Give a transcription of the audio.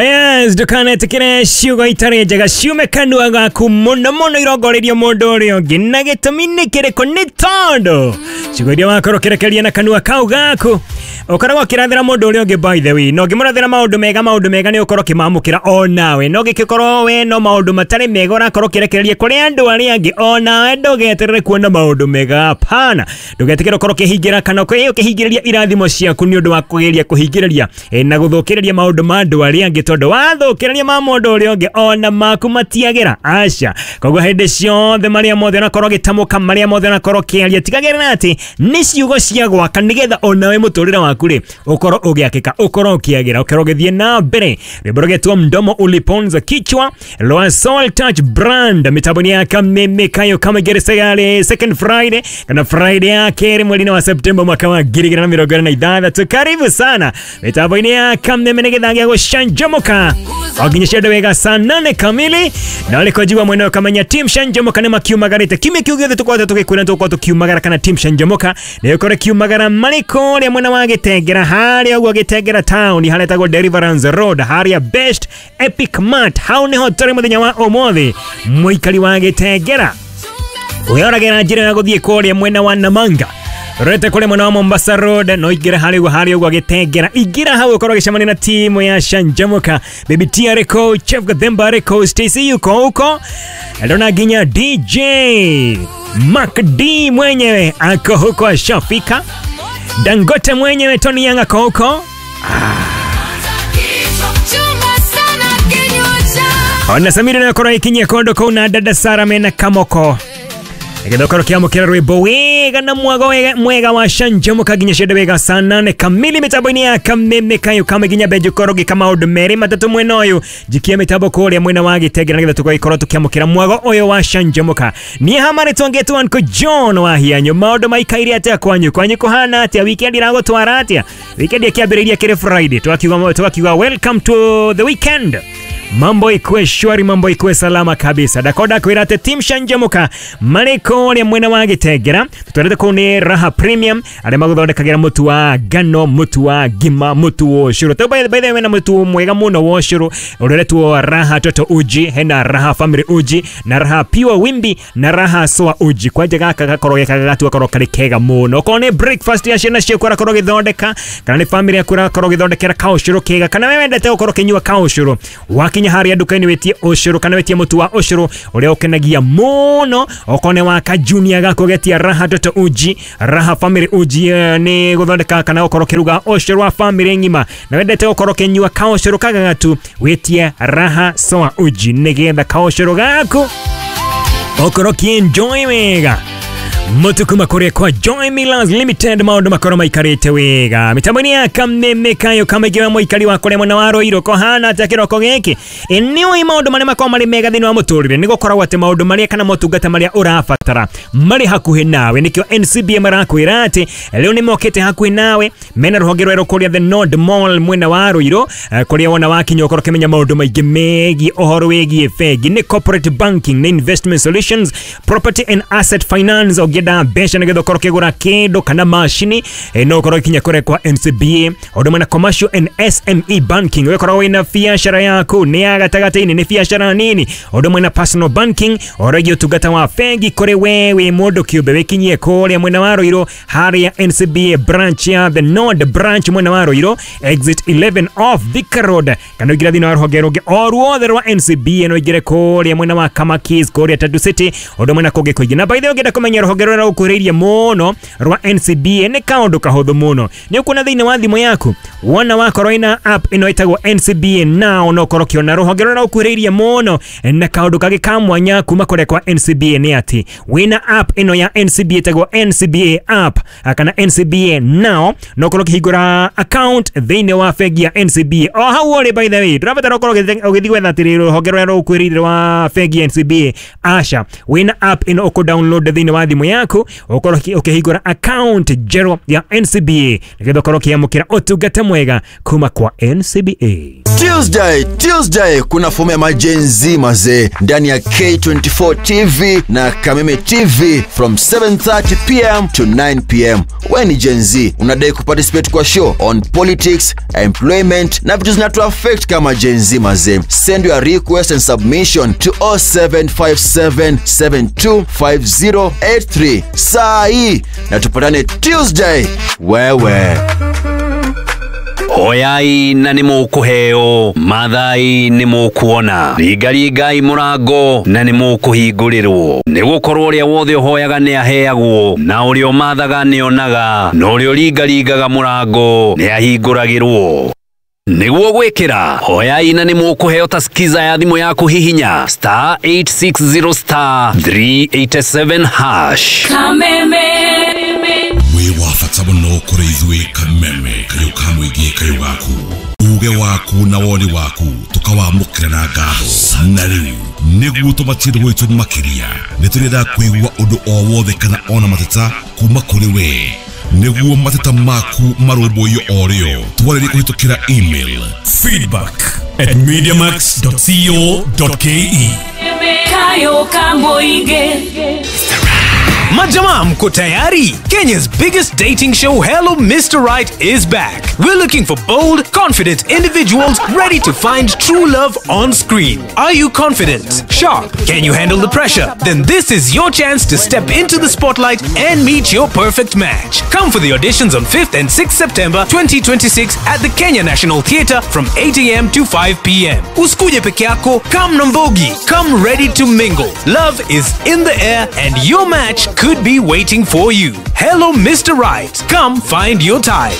Yes, ndukanetĩkĩre ciugo itarĩ njega ciume kanua gaku mũno mũno irongoreirio mũndũ ũrĩa ũngĩ. Na gĩtũmi nĩ kĩrĩkũ? Nĩ tondũ ciugo iria wakorwo ũkĩrekereria na kanua kau gaku ũkoragwo ũkĩrathĩra mũndũ ũrĩa ũngĩ, by the way, na ũngĩmũrathĩra maũndũ mega nĩ ũkorwo ũkĩmamũkĩra o nawe. No gĩkĩkorwo we no maũndũ matarĩ mega ũrakorwo ũkĩrekereria kũrĩ andũ arĩa angĩ, o nawe ndũgeterere kuona maũndũ mega. Hapana, ndũgetĩkĩre ũkorwo ũkĩhingĩra kana ũkĩhingĩrĩria irathimo ciaku nĩ ũndũ wa kũgeria kũhingĩrĩria na gũthũkĩrĩria maũndũ ma andũ arĩa angĩ, tondũ wathũkĩrĩria ma mũndũ ũrĩa ũngĩ ona maku matiagĩra. Aca, koguo hĩndĩ ciothe marĩa mothe ũrakorwo ũgĩtamũka, marĩa mothe ũrakorwo ũkĩaria, tigagĩrĩra atĩ nĩ ciugo cia gwaka, nĩgetha onawe mũtũrĩre waku rĩ ũkorwo ũgĩakĩka, ũkorwo ũkĩagĩra, ũkorwo ũgĩthiĩ na mbere. Rwĩmbo rũgetwo Mdomo Uliponza Kichwa rwa Soul Touch Brand, mĩtambo-inĩ ya Kameme Kayo Kamegere second Friday kana Friday ya kerĩ mweri-inĩ wa Septemba mwaka wa 2026. Karibu sana mĩtambo-inĩ ya Kameme nĩ gĩthaa gĩa gũcanjamũka o nginya ciende wega saa 8 kamili, na ũrĩko njigua mwena ũkamenya team Canjamũka nĩ makiumagarĩte. Kiumia kĩu gĩothe tũkoretwo tũgĩkwĩra tũgũkorwo tũkiumagara kana team Canjamũka nĩ ũkorwo kiumagara marĩ kũrĩa mwena wa Gĩtengera, harĩa ũguo Gĩtengera town, harĩa ĩtagwo Deliverance Road, harĩa Best Epic Mart, hau nĩho tũrĩ mũthenya wa ũmũthĩ. Mũikari wa Gĩtengera wĩoragĩra njĩra ya gũthiĩ kũrĩa mwena wa Namanga, rete kũrĩa mwena wa Mombasa Road, no ingĩra harĩa ũguo, harĩa ũguo Gĩtengera, ingĩra hau ũkorwo ũgĩcemania na timu ya Canjamũka. Baby T arĩkũ, Chef Gathemba arĩkũ, Stacy yuko huko, ndona nginya DJ Mark D mwenyewe ako huko ashafika, Dangote mwenyewe Tony Young ako huko. Ona Samira nakorwo ikinyia kondo kũu na dada Sara mena kamoko nĩgetha ũkorwo ũkĩamũkĩra rwĩmbo wega na mwago wega, mwega wa Canjamũka nginya ciende wega saa 8 kamili mĩtambo-inĩ ya Kameme Kayo Kame nginya benji ũkorwo ũgĩka maũndũ merĩ matatũ mwena ũyũ, njikie mĩtambo kũrĩa mwena wa Gĩtengera nĩgetha tũgagĩkorwo tũkĩamũkĩra mwago ũyũ wa Canjamũka. Niĩ hamarĩ twongetwo Uncle John wa Hianyu. Maũndũ maikaire atĩa kwanyu? Kwanyu kũhana atĩa? Weekend iragũtwara atĩa? Weekend ĩkĩambĩrĩirie kĩrĩ Friday, twakiuga welcome to the weekend. Mambo ikuwe shwari, mambo ikuwe salama kabisa. Dakoda kwĩra atĩ team Canjamũka marĩ kũrĩa mwena wa Gĩtengera, tũtwarĩte kũu nĩ Raha Premium arĩa magũthondekagĩra mũtu wa ngano, mũtu wa ngima, mũtu wa ũcũrũ. Tau by the way na mũtu mwega mũno wa ũcũrũ ũrĩa Raha Toto Uji, hena Raha Family Uji na Raha Pure Wimbi na Raha Soa Uji. Kwanja gaka gakorwo gekaga gakorwo karĩ kega mũno. Okorwo nĩ breakfast ya ciana ciaku ũrakorwo ũgĩthondeka, kana nĩ family yaku ũrakorwo ũgĩthondekera kaũcũrũ kega, kana we wendete gũkorwo ũkĩnyua kaũcũrũ, wakinya harĩa nduka-inĩ wĩtie ũcũrũ kana wĩtie mũtu wa ũcũrũ ũrĩa ũkenagia mũno. Okorwo nĩ wa ka junior gaku ũgetia Raha Toto Uji, Raha Family Uji nĩ gũthondeka kana gũkorwo ũkĩruga ũcũrũ wa family ng'ima, na wendete gũkorwo ũkĩnyua kaũcũrũ kagagatu, wĩtie Raha Soa Uji nĩgetha kaũcũrũ gaku ũkorwo ũkĩenjoy wega. Mũtu kuma kũrĩa kwa Joy Millers Limited, maũndũ makorwo maikarĩte wega mĩtambo-inĩ ya Kameme Kayo Kamege wa mũikari wa kũrĩa mwena wa Ruiru kũhana atĩa kĩroko gĩkĩ? Nĩũĩ maũndũ marĩa makoragwo marĩ mega thĩinĩ wa mũtũrĩre nĩ gũkoragwo atĩ maũndũ marĩa kana motungata marĩa ũrabatara marĩ hakuhĩ nawe. Nĩkĩo NCBA marakwĩra atĩ rĩu nĩ mokĩte hakuhĩ nawe, mena rũhonge rwerũ kũrĩa The Nord Mall mwena wa Ruiru, kũrĩa wona wakinya ũkorwo ũkĩmenya maũndũ maingĩ megiĩ ũhoro wĩgiĩ bengi, nĩ corporate banking, nĩ investment solutions, property and asset finance. Ũngĩenda mbeca nĩgetha ũkorwo ũkĩgũra kĩndũ kana macini, no ũkorwo ũkinya kũrĩa kwa NCBA. Ũndũ ũmwe na commercial and SME banking, ũgĩkorwo wĩna biacara yaku nĩ ya gatagatĩ-inĩ, nĩ biacara nini. Ũndũ ũmwe na personal banking, ũhoro wĩgiĩ ũtungata wa bengi kũrĩ we wĩ mũndũ kĩũmbe, wĩkinyie kũrĩa mwena wa Ruiru harĩa NCBA branch ya The Nord branch mwena wa Ruiru, exit 11 off Thika Road, kana ũingĩre thĩinĩ wa rũhonge rũngĩ o ruothe rwa NCBA, no ũingĩre kũrĩa mwena wa Kamakis kũrĩa Tatu City, ũndũ ũmwe na kũngĩ kũingĩ. Na by the way ũngĩenda kũmenya rũhonge rũrĩa rũkuhĩrĩirie mũno rwa NCBA nĩ kaũndũ kahũthũ mũno, nĩ ũkuona thĩinĩ wa thimũ yaku wona wakorwo ina app ĩno ĩtagwo NCBA Now, no ũkorwo ũkĩona rũhonge rũrĩa rũkuhĩrĩirie mũno. Na kaũndũ kangĩ ka mwanya kuma kũrĩa kwa NCBA nĩ atĩ wĩna app ĩno ya NCBA ĩtagwo NCBA app kana NCBA Now, no ũkorwo ũkĩhingũra account thĩinĩ wa bengi ya NCBA o hau ũrĩ. By the way, ndũrabatara ũkorwo ũgĩthiĩ gwetha atĩrĩ rũhonge rũrĩa rũkuhĩrĩirie rwa bengi ya NCBA. Aca, wĩna app ĩno ũkũ download thĩinĩ wa thimũ. yaku ukorwo ukihingura account njerũ ya NCBA nigetha ukorwo ukiamukira utungata mwega kuma kwa NCBA. Tuesday, Tuesday kuna fomu ya maGen Z mazee ndani ya K24 TV na Kameme TV from 7:30 pm to 9 pm. We ni Gen Z, unadai kuparticipate kwa show on politics, employment na vitu zinatu affect kama Gen Z mazee. Send your request and submission to 0757725083 saa hii na tupatane Tuesday wewe. Hoyai na nĩ mũkũheo, mathai nĩ mũkuona, ringaringai mũrango na nĩ mũkũhingũrĩrwo, nĩ gũkorwo ũrĩa wothe ũhoyaga nĩ aheagwo, na ũrĩa ũmathaga nĩ onaga, na ũrĩa ũringaringaga mũrango nĩ ahingũragĩrwo. Nĩguo gwĩkĩra hoyai na nĩ mũkũheo ta skiza ya thimũ yaku hihinya star 860 star 387 hash. Kameme. Wĩ wa bata mũno kũrĩ ithuĩ Kameme, kayũ ka mũingĩ, kayũ gaku, uge waku na woni waku tũkawamũkĩra na ngatho. Na rĩu nĩguo tũmatie gwitũ makĩria, nĩ tũrenda kũigua ũndũ o wothe kana ona mateta kuma kũrĩ we, nĩguo mateta maku marũmbũiyo o rĩo. Twarĩrie kũhĩtũkĩra email feedback@mediamax.co.ke. Kayo ka mũingĩ. Majamaa, mko tayari? Kenya's biggest dating show, Hello Mr. Right, is back. We're looking for bold, confident individuals ready to find true love on screen. Are you confident? Sharp? Can you handle the pressure? Then this is your chance to step into the spotlight and meet your perfect match. Come for the auditions on 5th and 6th September 2026 at the Kenya National Theatre from 8 a.m. to 5 p.m. Usikuje peke yako, come na mbogi. Come ready to mingle. Love is in the air and your match could be waiting for you. Hello, Mr. Right. Come find your type.